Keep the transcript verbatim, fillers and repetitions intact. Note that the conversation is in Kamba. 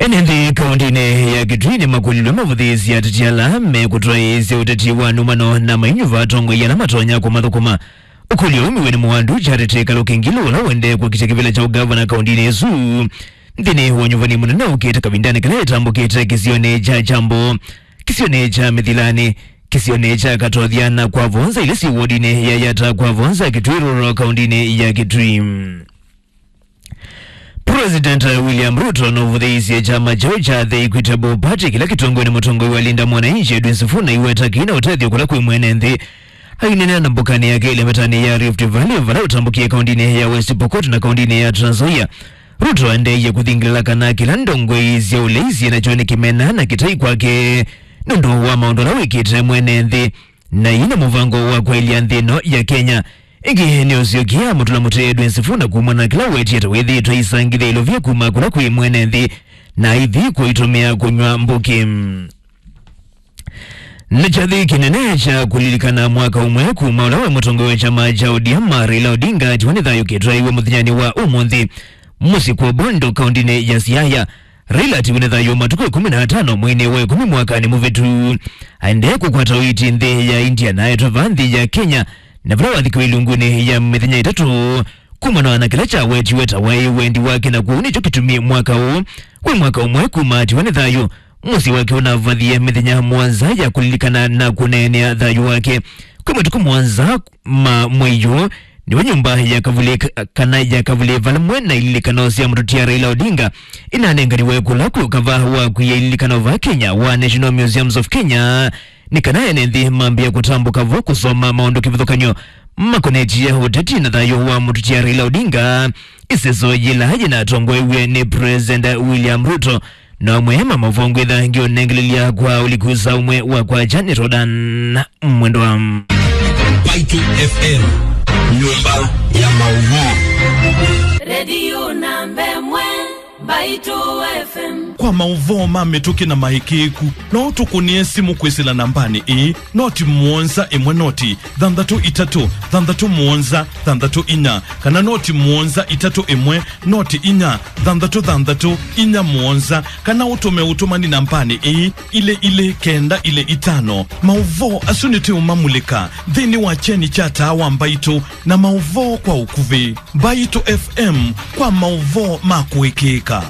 Ene nthĩ kaũntĩnĩ ya Kitui nĩmakũlilwe mavũthĩĩsye ateti ala mekũtwaĩĩsya ũteti wa nũmano na mainyuva atongoi ala matonya kũmathũkũma. Ũkũlyo ũũ wĩ nĩ Mwandu Charity Kaluki Ngilu, ũla ũendee kũkitya kĩvĩla kya ũgavana kaũntĩnĩ ĩsu nthĩnĩ wa nyuvani mũnene ũkĩte kavindanĩ kala ĩtambũkĩte kĩsionĩ kya Kyambo, kĩsionĩ kya Mĩthilani, kĩsionĩ kya Katothya na Kwavonza, ila syĩ wodinĩ ya Yatta Kwavonza, Kitui Rural, kaũntĩnĩ ya Kitui. President William Ruto nũvũthĩĩsye kyama kyaũ kya The Equitable Party kĩla kĩtongoew'e nĩ mũtongoi wa Linda Mwananchi Edwin Sifuna iweta kĩna ũtethyo kũla kwĩ mwene nthĩ. Aineenea na mbokanĩ yake ĩlemetanĩ ya Rift Valley vala ũtambũkie kaũntĩnĩ ya West Pokot na kaũntĩnĩ ya Trans Nzoia, Ruto aendeeie kũthingĩlĩla kana kĩla ndongoi sya ũlei syĩ nakyo nĩ kĩmena na kĩtai kwake nũndũ wa maũndũ ala wĩkĩte mwene nthĩ. Na ĩna mũvango wa kwaĩlya nthĩ ĩno ya Kenya. Ĩngĩ nĩũsyokie amũtũla mũtĩ Edwin Sifuna kumana na kĩla wetie ta wĩthĩĩtwe aisangĩthya ilovia kuma kũla kwĩ mwene nthĩ na aithi kũitũmĩa kũnyw'a mbũkĩ. Na kyathĩ kĩnene kya kũlilikana mwaka ũmwe kuma ũla we mũtongoi wa kyama kya O D M Raila Odinga atiwa nĩ thayũ kĩtwaĩwe mũthenyanĩ wa ũmũnthĩ mũsyĩ kwa Bondo, kaũntĩnĩ ya Siaya. Raila atiwa nĩ thayũ matukũ ĩkũmi na atano mweinĩ wa ĩkũmi mwakanĩ mũvĩtu. Aendee kũkwata ũiiti nthĩ ya India na aetwe vaa nthĩ ya Kenya, na vala wathikiwe ilungunĩ ya mĩthenya ĩtatũ kumana na kĩla kyawetiwe ta waĩ wendi wake, na kwoou nĩkyo kĩtumi mwaka ũũ wĩ mwaka ũmwe kuma atiwa nĩ thayũ. Mũsyĩ wake ũnavathie mĩthenya mũonza ya kũlilikana na kũneenea thayũ wake. Kwĩ matukũ mũonza ma mwei ũũ, nĩwe nyũmba ya kavulĩ k-, kana ya kavulĩ valamwe na ililikano sya mũtũtia Raila Odinga inanenganiwe kũla kwĩ ũkava wa kwia ililikano va Kenya wa National Museums of Kenya, nĩ kana ene nthĩ mambĩe kũtambũka vo kũsoma maũndũ kĩvathũkany'o makonetye ũteti na thayũ wa mũtũtia Raila Odinga, ĩseso yĩla yĩnatongoew'e nĩ President William Ruto. Na amwe ma maũvoo ngwĩtha ngĩũnengelelya kwa ũliku saa ũmwe wa kwakya nĩ Rodan Mwendwa. Mbaitũ F M, nyũmba ya maũvoo. Redio namba ĩmwe, Mbaitũ F M. Kwa maũvoo ma mĩtũkĩ na maĩkĩĩku, no ũtũkũnĩe simũ kwĩsĩla nambanĩ ĩĩ, noti mũonza ĩmwe noti thanthatũ itatũ thanthatũ mũonza thanthatũ inya, kana noti mũonza itatũ ĩmwe noti inya thanthatũ thanthatũ inya mũonza, kana ũtũme ũtũmani nambanĩ ĩĩ, ilĩ ilĩ kenda ilĩ itano. Maũvoo asu nĩtũũmamulĩka nthĩnĩ wa kyeni kya taa wa Mbaitũ na maũvoo kwa ũkuvĩ. Mbaitũ F M, kwa maũvoo ma kũĩkĩĩka.